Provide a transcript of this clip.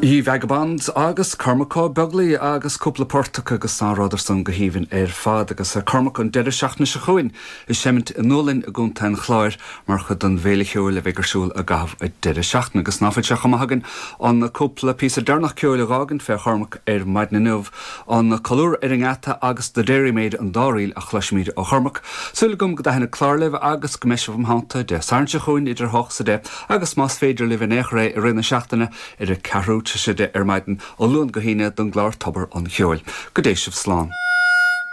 The Vagabonds agus Cormac Ó Beaglaoich agus cúpla port acu agus ná rabhadar san go haoibhinn ar fad agus Cormac an deireadh seachtaine seo chugainn ag seimint i nDúlainn i gContae an Chláir mar chuid den bhFéile Cheoil a bheidh ar siúl i gcaitheamh an deireadh seachtaine agus ná fuil sé chomh maith againn an cúpla píosa deireanach ceoil a dh'fhágaint fé Chormac ar maidin inniu An Colúr ar an nGeata agus The Dairymaid an dá ríl a chloisfimid ó Chormac. Súil agam go dtaitneoidh an clár libh agus go mbeidh sibh im theannta Dé Sathairn seo chugainn idir 8 's 10 agus más féidir libh in aon chor é i rith na seachtaine ar a ceathrú tar éis 10 ar maidin ó Luan go hAoine don gclár Tobar an Cheoil. Go dté sibh slán.